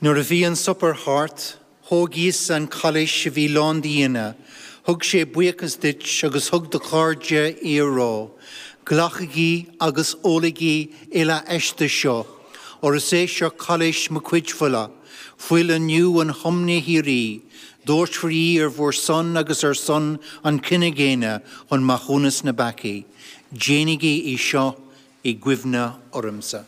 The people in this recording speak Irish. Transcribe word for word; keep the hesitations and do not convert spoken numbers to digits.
Nuair a bhí an suipéar thart, thóg Íosa an cailís a bhí lán d'fhíona, thug sé buíochas duit agus thug dá chairde í á rá, Glacaigí agus ólaigí uile aisti seo, óir is é seo cailís mo chuid fola, fuil an nua-thiomna shíoraí, doirtfear í ar bhur son agus ar son an chine dhaonna chun maithiúnas na bpeacaí. Déanaigí í seo i gcuimhne ormsa.